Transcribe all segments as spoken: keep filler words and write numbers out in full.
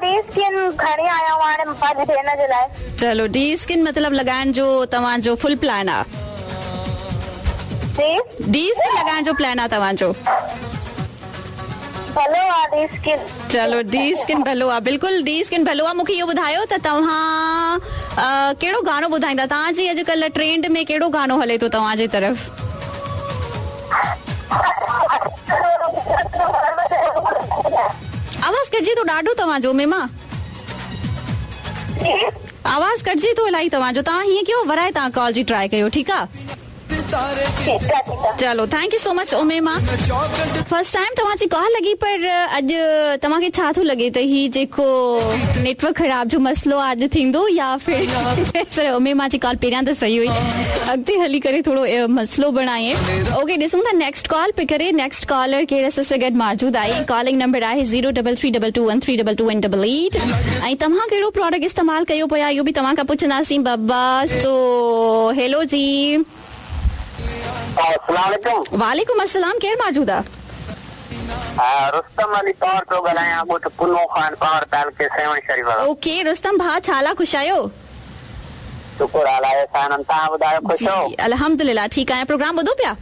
D skin खणी आया आहियूं हाणे पंहिंजी भेण जे लाइ। चलो डी स्किन मतलब लॻाइण जो तव्हांजो फुल प्लान आहे? जी डी स्किन लॻाइण जो प्लान आहे तव्हांजो? भलो आहे डी स्किन। चलो डी स्किन भलो आहे, बिल्कुलु डी स्किन भलो आहे। मूंखे इहो ॿुधायो त तव्हां कहिड़ो गाणो ॿुधाईंदा? तव्हांजी अॼुकल्ह ट्रेंड में कहिड़ो गाणो हले थो तव्हांजे तरफ़? आवाज़ कटिजे थो ॾाढो तव्हांजो मेमा, आवाज़ कटिजे थो इलाही तव्हांजो। तव्हां हीअं कयो वराए तव्हां कॉल जी ट्राई कयो, ठीकु आहे? चलो thank you so much Umaima. First time तव्हांजी कॉल लॻी, पर अॼु तव्हांखे छा थो लॻे त ही जेको नेटवर्क ख़राब जो मसइलो आहे अॼु थींदो या फिर सर उमेमा जी कॉल पहिरियां त सही हुई, अॻिते हली करे थोरो मसइलो बणाए। ओके ॾिसूं था नेक्स्ट कॉल पे करे। नेक्स्ट कॉलर केरु असां सां गॾु मौजूदु आहे। कॉलिंग नंबर आहे zero double three double two one three double two one double eight. ऐं तव्हां कहिड़ो प्रोडक्ट इस्तेमालु कयो पिया इहो बि तव्हां खां पुछंदासीं बाबा। सो हेलो जी। अस्सलाम वालेकुम अस्सलाम। केरु मौजूद आहे? रुस्तम अली पावर थो ॻाल्हायां, ॻोठ पुनो खान पावर तालके सेवण शरीफ। ओके रुस्तम भाउ, छा लाइ ख़ुशि आहियो? शुक्र अलाह सां। तव्हां ॿुधायो, ख़ुशि आहियो? अल्हम्दुलिल्लाह ठीकु आहियां। प्रोग्राम ॿुधो पिया?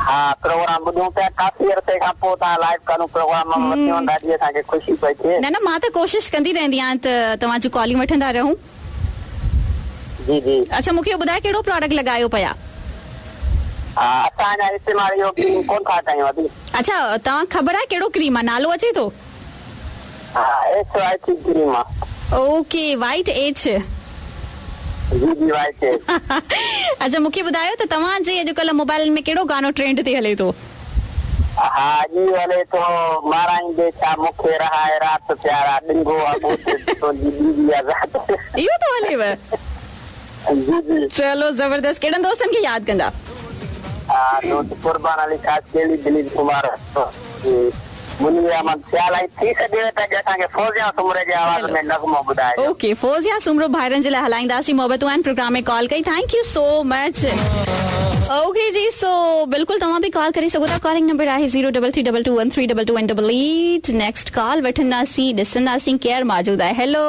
हा प्रोग्राम ॿुधूं पिया। काफ़ी अरसे खां पोइ तव्हां लाइव करूं प्रोग्राम वरितियो, ॾाढी असांखे ख़ुशी पई थिए। न न मां त कोशिशि कंदी रहंदी आहियां त तव्हां जूं कॉलिंग वठंदा रहूं। जी जी। अच्छा मूंखे इहो ॿुधायो कहिड़ो प्रोडक्ट लॻायो पिया? असां अञा इस्तेमालु इहो क्रीम कोन था कयूं अभी। अच्छा तव्हां ख़बर आहे कहिड़ो क्रीम आहे, नालो अचे थो? हा एच वाई टी क्रीम आहे। Okay white H. जी जी वाइट एच। अच्छा मूंखे ॿुधायो त तव्हांजे अॼुकल्ह मोबाइल में कहिड़ो गाणो ट्रेंड ते हले थो? हा जी हले थो माराईंदे छा मूंखे रहाए रात प्यारा ॾिंगो आहे तुंहिंजी बीवी आहे। इहो थो हलेव? जी जी। चलो ज़बरदस्त। कहिड़नि दोस्तनि खे यादि कंदा? दोस्त कुर्बान अली खासकेली, दिलीप कुमार, मुनीर अहमद सियाल। ऐं थी सघे त असांखे फौजिया सुमरे जे आवाज़ में नग़मो ॿुधाइजो। ओके फौजिया सुमरो भाइरनि जे लाइ हलाईंदासीं। मोहबतूं आहिनि प्रोग्राम में कॉल कई, thank you so much. Okay जी सो बिल्कुलु तव्हां बि कॉल करे सघो था। कॉलिंग नंबर आहे zero double three double two one three double two one double eight. Next call वठंदासीं, ॾिसंदासीं केरु मौजूदु आहे। हेलो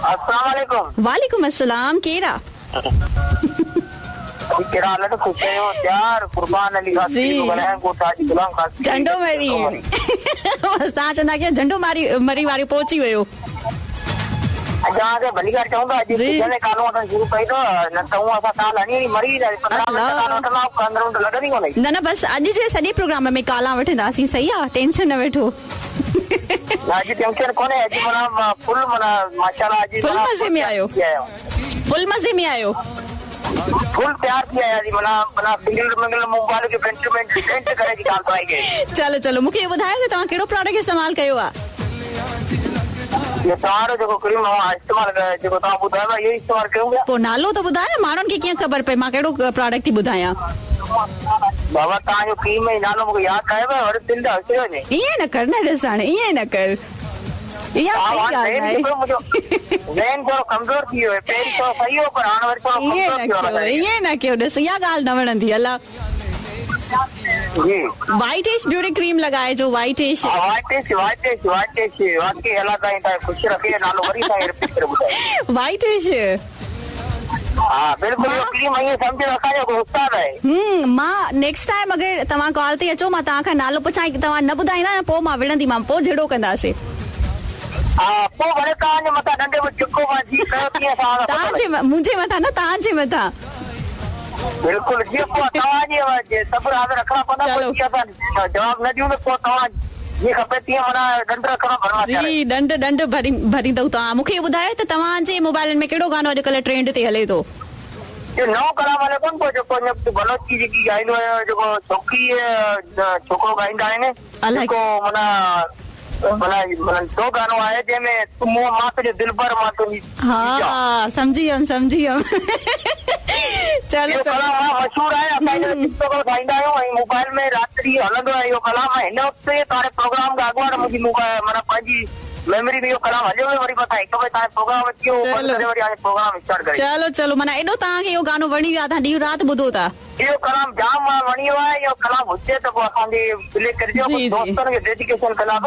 अस्सलाम वालेकुम। वालेकुम अस्सलाम। केरु आहे? झंडो मरी तव्हां चवंदा कयो झंडो मारी मरी वारो पहुची वियो। न न बसि अॼु जे सॼे प्रोग्राम में काला वठंदासीं, सही आहे? टेंशन न वठो। फुल मज़े में आहियो, फुल मज़े में आहियो, फुल तैयार थी आया मना मना सिंगल मिंगल मोबाइल के प्रिंट में सेंड करे जी ॻाल्हि आई गई। चलो चलो मूंखे इहो ॿुधायो त तव्हां कहिड़ो प्रोडक्ट इस्तेमालु कयो आहे? ये तव्हांजो जेको क्रीम मां इस्तेमालु कयो जेको तव्हां ॿुधायो इहो इस्तेमालु कयूं पिया। पोइ नालो त ॿुधायो न, माण्हुनि खे कीअं ख़बर पए मां कहिड़ो प्रोडक्ट थी ॿुधायां? बाबा तव्हांजो क्रीम जो नालो मूंखे यादि आहे पर वरी दिलि त अची वञे। ईअं न कर न ॾिस हाणे ईअं न कर, इहा सही ॻाल्हि आहे। ज़हन थोरो कमज़ोर थी वियो, पहिरीं थोरो सही हो पर हाणे वरी थोरो कमज़ोर थी वियो। ईअं न कयो ॾिस, इहा ॻाल्हि न वणंदी। अला जी वाइट एश ब्यूटी क्रीम लॻाइजो, वाइट एश। वाइट एश वाइट एश वाइट एश वाकई अलाह ताईं तव्हां ख़ुशि रखे। नालो वरी साईं रिपीट करे ॿुधायो। वाइट एश। हा बिल्कुलु, इहो क्रीम ईअं सम्झो असांजो उस्ताद आहे। हम्म मां नेक्स्ट टाइम अगरि तव्हां कॉल ते अचो मां तव्हां खां नालो पुछां, तव्हां न ॿुधाईंदा न पोइ मां विड़ंदीमां, पोइ झिड़ो कंदासीं। हा पोइ भले तव्हांजे मथां ॾंडे में चुको मां जी कयो तीअं असां तव्हांजे मुंहिंजे मथां न तव्हांजे मथां। बिल्कुलु जीअं पोइ तव्हांजे सब्र हाज़िर रखणा पवंदा, पोइ जीअं असां जवाबु न ॾियूं त पोइ तव्हां जीअं खपे तीअं माना ॾंड रखणो भरणो जी ॾंड ॾंड भरी भरींदव तव्हां। मूंखे इहो ॿुधायो त तव्हांजे मोबाइलनि में कहिड़ो गाणो अॼुकल्ह ट्रेंड ते हले थो? इहो नओं कलाम हले कोन पियो जेको बलोची जेकी ॻाईंदो आहे, जेको छोकिरी छोकिरो ॻाईंदा आहिनि, जेको माना माना माना सो गाणो आहे जंहिंमें तूं मूं मां तुंहिंजो दिलबर मां तुंहिंजी। हा सम्झी वियमि सम्झी वियमि। चलो कलाम मशहूर आहे, असां टिकटॉक ठाहींदा आहियूं ऐं मोबाइल में राति हलंदो आहे इहो कलाम। हिन वक़्तु तव्हांजे प्रोग्राम खां अॻुवाट मुंहिंजी मोबाइल माना पंहिंजी मेमोरी में इहो कलाम हलियो वियो, वरी मथां हिकु बि तव्हांजो प्रोग्राम अची वियो, बंदि करे वरी हाणे प्रोग्राम स्टार्ट करे। चलो चलो माना एॾो तव्हांखे इहो गाणो वणी वियो आहे, तव्हां ॾींहुं राति ॿुधो था। इहो कलाम जाम वणी वियो आहे, इहो कलाम हुजे त पोइ असांजे प्ले करिजो, दोस्तनि खे डेडिकेशन कलाम।